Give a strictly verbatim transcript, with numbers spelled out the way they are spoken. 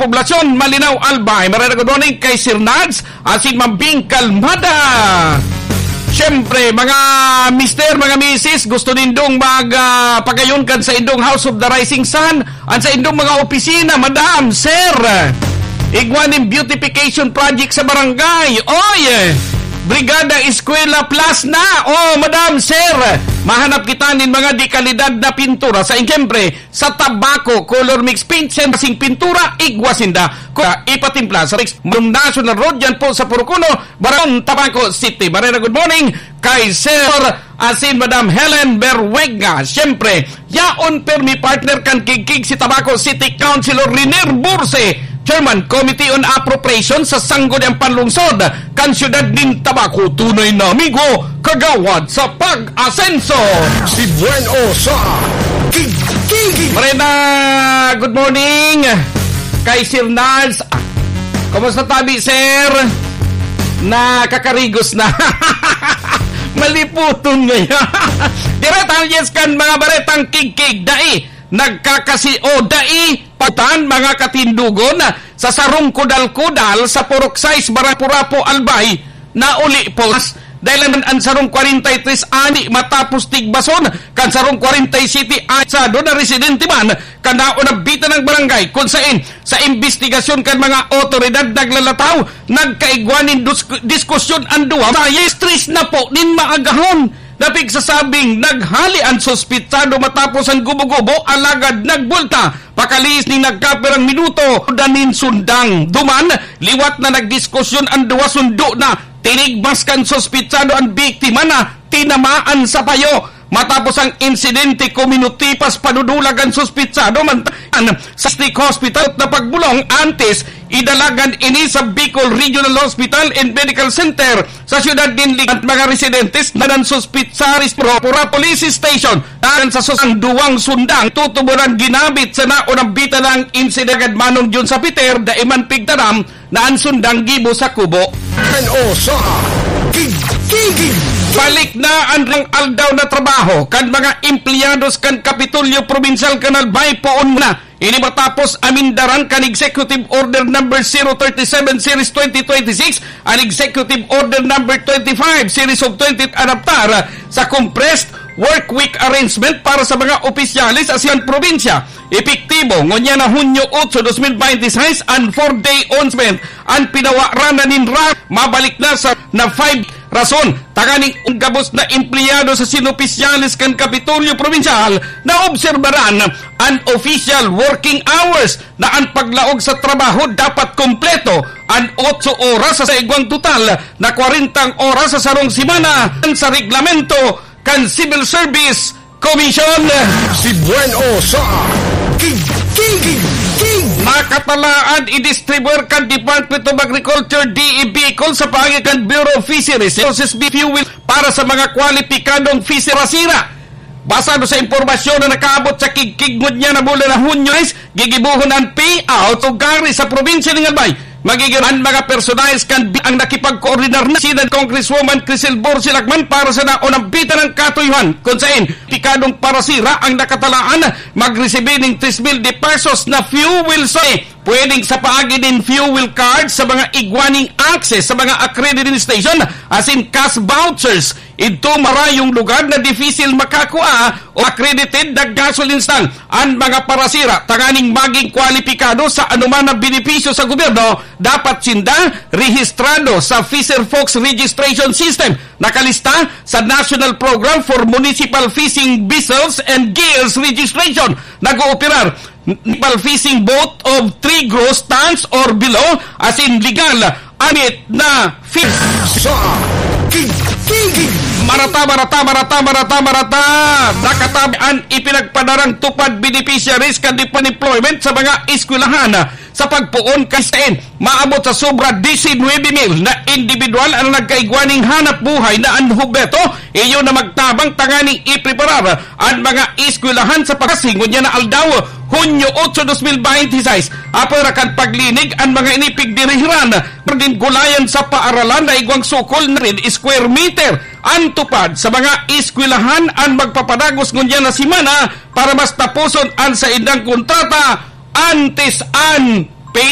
Poblasyon, Malinao, Albay. Maray na good morning kay Sir Nads, asin Ma'am Bing Kalmada. Siyempre, mga mister, mga misis, gusto nindong mag, ah, pagayon kan sa indong House of the Rising Sun, an sa indong mga opisina, madam, sir. Igwa nin beautification project sa barangay. Oy, Brigada Eskwela Plus na. Oh, madam, sir. Mahanap kita nin mga de kalidad na pintura. Sa, siyempre, sa Tabaco, color mix paint, sensing pintura, igwa sinda. Kaya ipatimpla sa Rex Malum National Road, yan po sa Purok Uno, Barangay Tabaco City. Maray na good morning kay Sir asin Madam Helen Berwega. Siyempre, yaon permi partner kan Kigkig si Tabaco City Councilor Riner Burse, Chairman Committee on Appropriation sa Sangguniang Panlungsod kan Siyudad nin Tabaco. Tunay na amigo, kagawad sa pag-asenso. Si Buen O sa Kigkig. Marena, good morning kay Sir Nals. Kumusta tabi, sir? Nakakarigos na. Maliputon ngayon. Direta yes kan mga baretang Kigkig. Dai nagkakasi o dai patan mga katindugon sa sarong kudal-kudal sa Purok sais, Barangay Purapo, Albay. Nauli po dahil an, an sarong kwarenta y tres ani matapos tigbason kan sarong kwarenta y siyete anyado na residente man kan naunabita ng barangay, kun sain sa imbestigasyon kan mga otoridad naglalataw, nagkaigwa nin dus-, diskusyon an duwa. Sa stress na po nin maagahon na pigsasabing naghali an suspitsado matapos an gubo-gubo, alagad nagbulta pakalihis nin nagkapirang minuto, danin sundang. Duman, liwat na nagdiskusyon an duwa, sundo na. Tinigbas kan suspitsado an biktima na tinamaan sa payo. Matapos ang insidente, kuminutipas padudulag an suspitsado man sa State Hospital na pagbulong antes idalagan ini sa Bicol Regional Hospital and Medical Center sa siyudad nin Ligan. Mga residentes na nansuspit sa Pura Police Station akan sa susang duwang sundang tutuburan ginamit sa naunang bita ng insidente. Manong Jun sa Peter, dai man pigtaram na an sundang gibo sa kubo. N O sa Kigkig. Balik na an rang aldaw na trabaho kan mga empleyados kan Kapitolyo Probinsyal kan Albay poon na. Ini matapos amindaran kan Executive Order Number zero thirty-seven Series twenty twenty-six, an Executive Order Number twenty-five Series of twenty adaptar sa compressed work week arrangement para sa mga opisyales sa siyang probinsya. Epektibo ngunyan na Hunyo otso, dos mil baynte sais, an four-day onsment an pinawaranan nin ra-, mabalik na sa na five. Rason, tanganing ang gabos na empleyado sa sinopisyales kan Kapitolyo Probinsyal na obserbaran an official working hours na an paglaog sa trabaho dapat kompleto an otso oras sa igwang total na kwarentang oras sa sarong semana sa reglamento kan Civil Service Commission. Si Buen O sa Kigkig. Nakatalaan idistribuir kan Department of Agriculture, D E Bicol, sa paagi kan Bureau of Fisheries Resources B fuel para sa mga kwalipikadong fisher parasira. Basado sa impormasyon na nakaabot sa Kigkig ngunyan na bulan na Hunyo, gigibohon an payout o gari sa probinsya nin Albay. Magiging an mga personahes kan bi-, ang nakipagkoordinar na si Congresswoman Crisel Borsilak man para sa naunang bita ng katuyuhan, kung sain pikadong parasira ang nakatalaan magresibi ning tres mil de pesos na fuel sa pwedeng sa paagi nin fuel card sa mga igwa nin access sa mga accredited station asin cash vouchers. Idto marayong lugar na dipisil makakua o accredited na gasoline stand an mga parasira tanganing maging kwalipikado sa anoman na benepisyo sa gobyerno. Dapat sinda rehistrado sa Fisher Folks Registration System, nakalista sa National Program for Municipal Fishing Vessels and Gears Registration. Nag-ooperar municipal fishing boat of three gross tons or below, asin legal amit na fish. Sa Kigkig. Marata, marata, marata, marata, marata. Nakatabi an ipinagpadarang TUPAD beneficiaries kan di pa employment sa mga eskwelahan sa pagpoon kan sain. Maabot sa sobra disinwebe mil na individual ang nagkaigwa ning hanap buhay na an hubreto, iyo na magtabang tanganing ipreparar an mga eskwelahan sa pagkasi ngunyan na aldaw, Hunyo otso, dos mil baynte sais. Apwera kan paglinig an mga ini pigdirihiran, pagdinggulayan sa paaralan na igwang sukol na rin square meter. An TUPAD sa mga eskwelahan an magpapadagos ngunyan na semana para mas taposon an saindang kontrata antes an